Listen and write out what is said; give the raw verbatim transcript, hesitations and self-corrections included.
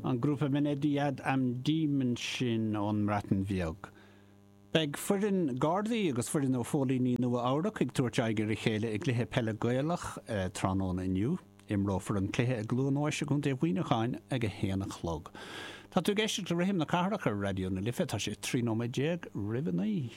An grúpa Mynediad am Ddim ansin ón mBreatain Bheag. Beidh foireann Gardaí agus foireann ó phóilíní Nua Eabhrac ag tabhairt aghaidh ar a chéile i gcluiche peile Gaelach eh, tráthnóna inniu. Imreofar an cluiche i gCluain Eois i gContae Mhuineacháin ag a haon a chlog. Tá tú ag éisteacht le Rithim na Cathrach ar Raidió na Life, tá sé trí nóiméad déag roimh a naoi.